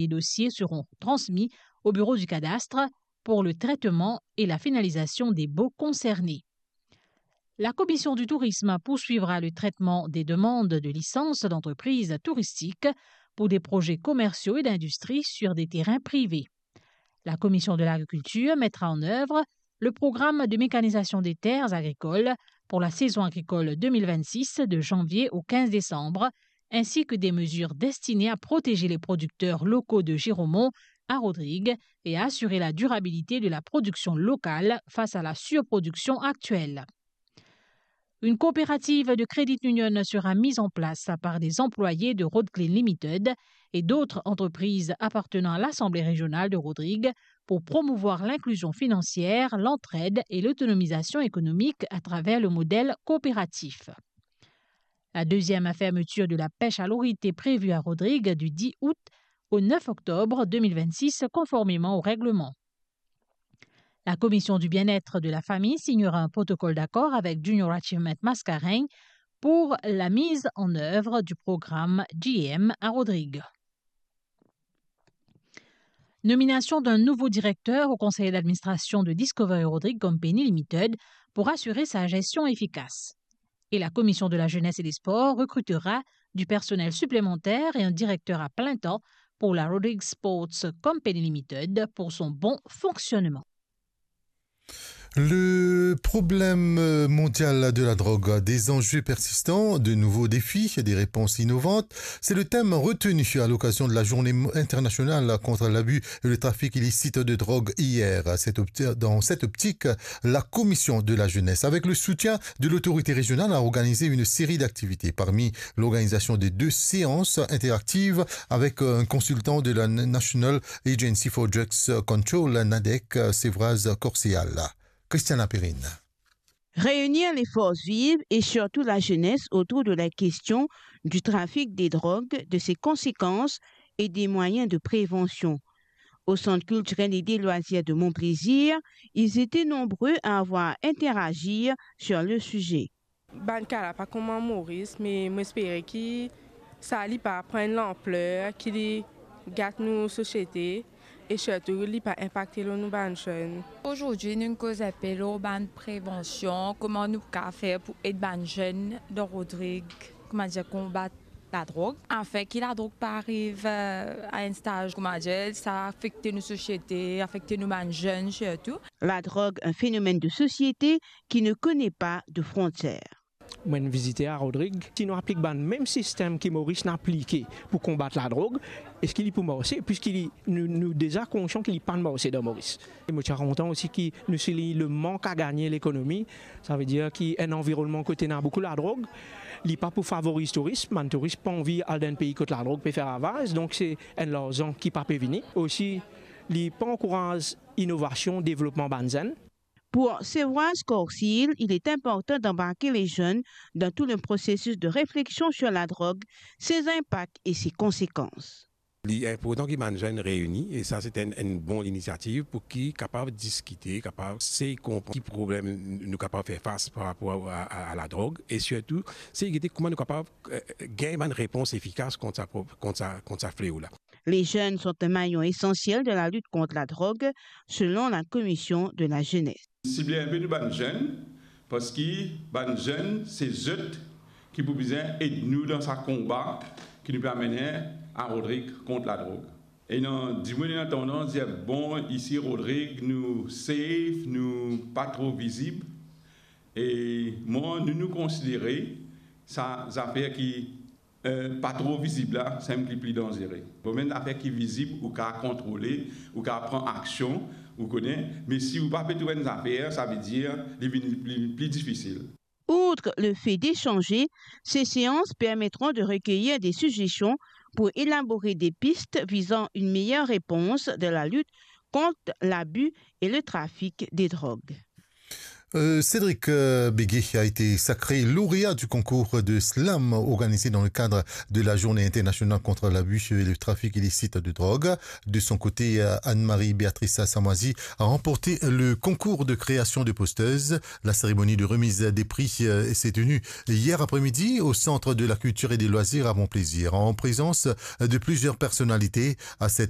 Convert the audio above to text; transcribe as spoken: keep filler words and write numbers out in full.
Les dossiers seront transmis au bureau du cadastre pour le traitement et la finalisation des baux concernés. La Commission du Tourisme poursuivra le traitement des demandes de licence d'entreprise touristique pour des projets commerciaux et d'industrie sur des terrains privés. La Commission de l'Agriculture mettra en œuvre le programme de mécanisation des terres agricoles pour la saison agricole deux mille vingt-six de janvier au quinze décembre, ainsi que des mesures destinées à protéger les producteurs locaux de Giromont à Rodrigues et à assurer la durabilité de la production locale face à la surproduction actuelle. Une coopérative de credit union sera mise en place par des employés de Road Clean Limited et d'autres entreprises appartenant à l'Assemblée régionale de Rodrigues pour promouvoir l'inclusion financière, l'entraide et l'autonomisation économique à travers le modèle coopératif. La deuxième fermeture de la pêche à l'orite est prévue à Rodrigues du dix août au neuf octobre deux mille vingt-six, conformément au règlement. La Commission du bien-être de la famille signera un protocole d'accord avec Junior Achievement Mascarenhas pour la mise en œuvre du programme G M à Rodrigues. Nomination d'un nouveau directeur au conseil d'administration de Discovery Rodrigues Company Limited pour assurer sa gestion efficace. Et la Commission de la Jeunesse et des Sports recrutera du personnel supplémentaire et un directeur à plein temps pour la Rodrigues Sports Company Limited pour son bon fonctionnement. Le problème, euh, mondial de la drogue, des enjeux persistants, de nouveaux défis, des réponses innovantes, c'est le thème retenu à l'occasion de la journée mo-, internationale contre l'abus et le trafic illicite de drogue hier. Cette opti-, dans cette optique, la Commission de la Jeunesse, avec le soutien de l'autorité régionale, a organisé une série d'activités, parmi l'organisation de deux séances interactives avec, euh, un consultant de la National Agency for Drugs Control, NADEC, Sevraz Korseal. Christian Lapérine. Réunir les forces vives et surtout la jeunesse autour de la question du trafic des drogues, de ses conséquences et des moyens de prévention. Au Centre culturel et des loisirs de Mon Plaisir, ils étaient nombreux à avoir interagi sur le sujet. Bann ka la pa kouma Moris, me mo espere ki sa li pa pran enn lanpler, ki li gat nou sosiete e sirtou li pa inpakte lor nou bann zenn. Azordi, nou koz inpe lor bann prevansion, kouma nou kapav fer pou ed bann zenn dan Rodrig, kouma dir, konbat ladrog, afin ki ladrog pa ariv, euh, a enn staz, kouma dir, sa afekte nou sosiete, afekte nou bann zenn sirtou. La drogue, un phénomène de société qui ne connaît pas de frontières. Mo'nn vizite a Rodrig. Si nou aplik bann mem sistem ki Moris inn aplike pou konbat ladrog, eski li pou marse? Piski li, nou, nou deza konsian ki li pa'nn marse dan Moris. E mo ti a kontan osi ki nou soulign le mank a gagne lekonomi, savedir ki enn anvironnman kot ena boukou ladrog, li pa pou favoriz touris, bann touris pa anvi al dan enn pei kot ladrog pe fer ravaz, donk se enn larzan ki pa pe vini. Osi, li pa ankouraz inovasion, devlopman bann zenn. Pour Sevraz Korseal, il est important d'embarquer les jeunes dans tout le processus de réflexion sur la drogue, ses impacts et ses conséquences. Li inportan ki bann zenn reini, e sa se enn, enn bon linisiativ pou ki kapav diskite, kapav sey konpran ki problem nou kapav fer fas par rapor a, a, a ladrog, e sirtou sey gete kouma nou kapav, eh, gagn bann repons efikas kont sa pro-, kont sa, kont sa fleo la. Les jeunes sont un maillon essentiel de la lutte contre la drogue, selon la Commission de la Jeunesse. Sible inpe nou bann zenn, parski bann zenn, se zot ki pou bizin ed nou dan sa konba ki nou pe amene a Rodrig kont ladrog. Ena dimoun ena tandans dir, bon, isi Rodrig, nou safe, nou pa tro vizib. E mwa, nou, nou konsidere sa zafer ki eh, pa tro vizib la, sann ki pli danzere. Bon, bann zafer ki vizib, ou kapav kontrole, ou kapav pran aksion, ou kone, me si ou pa pe trouv bann zafer, savedir li vinn pli, pli difisil. Outre le fait d'échanger, ces séances permettront de recueillir des suggestions pour élaborer des pistes visant une meilleure réponse de la lutte contre l'abus et le trafic des drogues. Euh, Cédric euh, Béguet a été sacré lauréat du concours de slam organisé dans le cadre de la Journée internationale contre l'abus et le trafic illicite de drogue. De son côté, euh, Anne-Marie Béatrice Samoisi a remporté le concours de création de posteuses. La cérémonie de remise des prix euh, s'est tenue hier après-midi au Centre de la Culture et des Loisirs à Mont-Plaisir, en présence de plusieurs personnalités. À cette